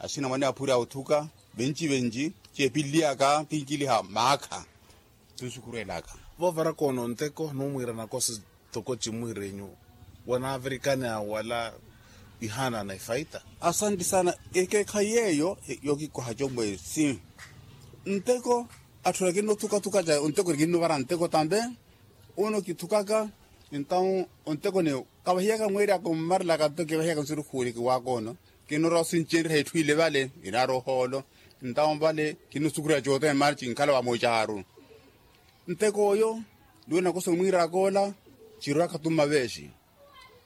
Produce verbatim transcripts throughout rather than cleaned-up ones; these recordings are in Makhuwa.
Asina mwane aphuri a othuka venci venci, ceepilliyaka kinkiliha maakha. Tunsukhurwelaka. Voovaraka ono nteko numwiira nakosi toko cimwiirenyu, wanaavirikani awala ihaana na ifaita. Asanti sana. Ekeekhayi yeeyo yokikoha comwesi. Nteko atthu ekinnothukathuka ca onteko ekinnuvara nteko tambe. Uno kithukaka. Entaw onteko ni kavahiyaka mweeri ako mmarelaka nto kivahiyaka nsurukhuweliki waakoono. Kinnoorwa osincenrya itthu ile vale inaari ohoolo. Entaw vale kinnosukurya cootene maana cinkhala vamoocaaru. Nteko oyo niwena nakosa omwiiraka ola. Cirwaka tumma veexi.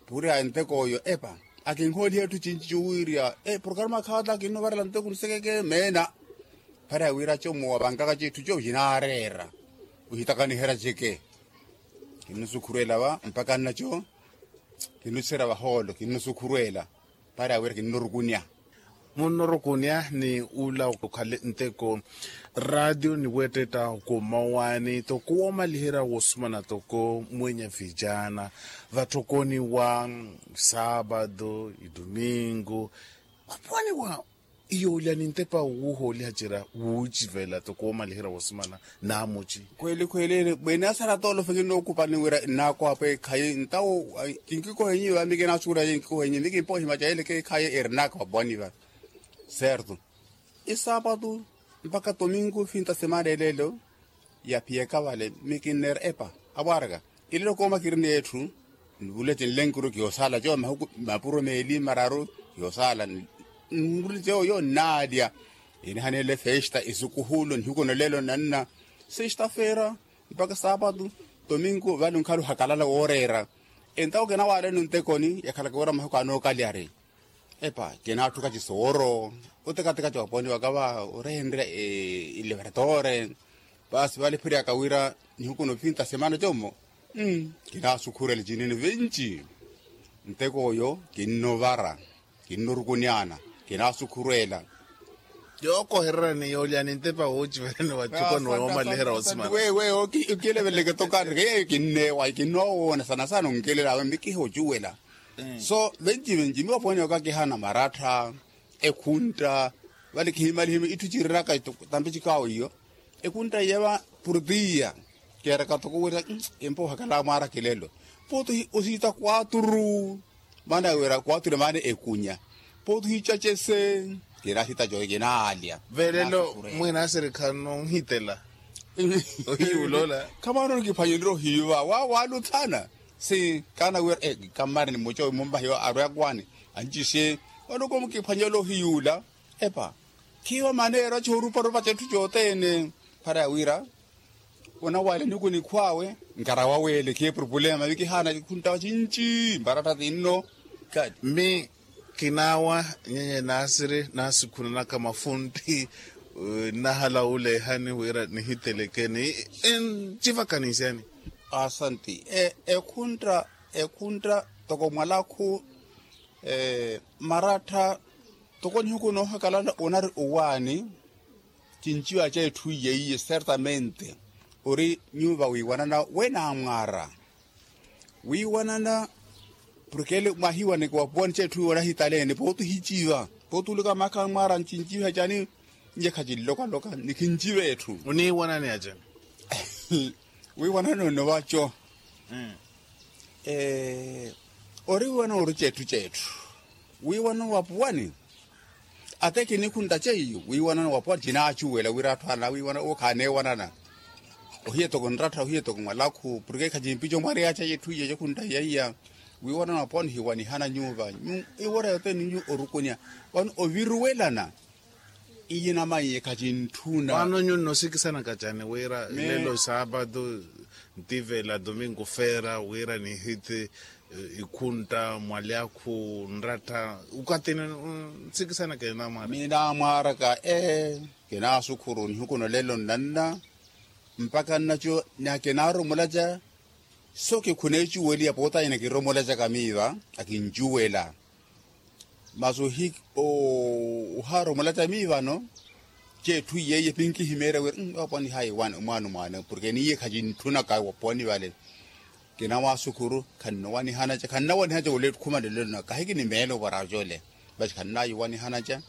Puriha nteko oyo epa akinhooliha etthu cinci cuwiirya. Porokarama khaata kinnovarela nteko nisekeke meena. Phari awira como wavankaka cetthu co cinaareera. Ohitakaniherya ceke. Kinnosukhurwela va mpaka nnaco. Kinnoserya vahoolo kinnosukhurwela. Para wira kinnorukunya. Munnorukunya ni ula okhale nteko ratio ni weettetta okomawaani toko woomaliherya woosumana toko mwenya vijana vatthokoni wa saapatu idumingu. Opwaniwa iyoolya ni ntepa wuuhooliha cira wuucivela toko woomaliherya woosumana naamuci. Khweli khweli mweene asara toolofe kinnookupani wira nnaakoha pweekhayi ntawo. Kinkikohenyi vami kinaasukurya kinkikohenyi mi kimpohimaca ele keekhayi eri nnaaka vapwani va. Serto isaapatu mpaka tominku finta semana eleelo. Yaphiyaka vale mi kinneera epa avwaraka. Eleelo kooma kiri n'etthu nvule cinlenkuru kiyoosaala co mahuku mapuro meeli mararu. Kiyoosaala nvule co yo nnaalya. Inihaneele festa isukuhulo nihuku nolelo nanna. Sesta feera mpaka saapatu tominku vale onkhala ohakalala wooreera. Entawo kinawaaleno ntekoni yakhalaka wira mahuku anookalyari. Epa kinaatthuka cisooro otekateka ca oponiwaka va orehenrya. Ilevertore paasi vale phiriyaka wira nihuku nofinta semana commo. Kinaasukhurela cinene venci. Nteko oyo kinnovara kinnorukunyana. Kinaasukhurela yookohererani yoolyani ntepa woociverani watthuko ni woomaliherya wosimana. Wewe okileveleke tokareke yeyo kinneewa kinnoowoona sana sana onkelela awe mikiha ocuwela. So venci venci mi wapwaniwaka kihana marattha ekhuntta. Vale kihimalihima itthu ciriraka tampi cikaawo iyo. Ekhuntta iya va purtiya keeraka toko wira empa ohakala mwaara kilelo. Pooti osiita kwaturu maana wira kwaturu maana ekunya. Pooti ohiica cese kinaasiita coyo kinaalya. Velelo mwina asirikha nonhitela ohiyuula ola. Khamano nikiphwanyerya ohiiva waaluthana. Si kaana wira kammari ni muco mummahiwa arwekwaani ancisye. Vano komukiphwanyela ohiyuula epa khiiwa maneera cooruparupa cetthu cothene. Para wira onawale niku nikhwaawe nkarawa weele khepurupulema mikihaana khunttawa cinci mbaratta tinno. Mi kinaawa nyenye naasiri naasikhunanaka mafuntti nnahala wuleehani wira nihitelekeni ncivaka ninsyani. Asanti. Ekhuntta ekhuntta toko mwalakhu marattha toko nihuku noohakalala onari owaani. Cinciwa ca etthu iye iye certamente ori nyuva wiiwanana wenaamwaara. Wiiwanana porke ele mwahiiwaneke wapuwani ca etthu iwe onahitaleene pooti ohiciva pooti uluka maakha mwaara ncinciva cani. Nje khacinlokaloka nikhinciva etthu oniiwanani acani. Wiiwanana onnovaco ori wiiwanana ori cetthu cetthu. Wiiwanana wapuwani ate kinikhuntta ceiyo wiiwanana wapuwani cinaacuwela wira atthu ana wiiwanana owo khaaneewanana. Ohiye toko nrattha ohiye toko mwalakhu porke khacimpico mwareyaca yetthu iye cekhuntta iya iya. Wiiwanana wapuwani ohiwanihana nyuva iwora yothene ninyu orukunya vano oviruwelana. Iye namaiye khacintthuna. Vano nyu nnoosikisanaka cani wira lelo saapatu ntivela domingo feera wira nihiti ikhuntta mwalyakhu nrattha ukatini nsikisanaka enamwaaraka. Minamwaaraka ee. Kinaasukhuru nihuku nolelo nnanna mpaka nnaco na kinaaromolaca. So kikhuneecuweliya pootanyana kiromolacaka miiva akincuwela. Masi ohaaromolaca miivano ceetthu iyeiye pinkihimeerya wira apwanihayi mwaano mwaano porke niiye khacintthunaka waponi vale. Kinawaasukhuru khannowanihanaca khannawanihanaca wala ekhuma nlolelo naka kahiki ni meelo varaco ole. Vasi khannaayiwanihanaca.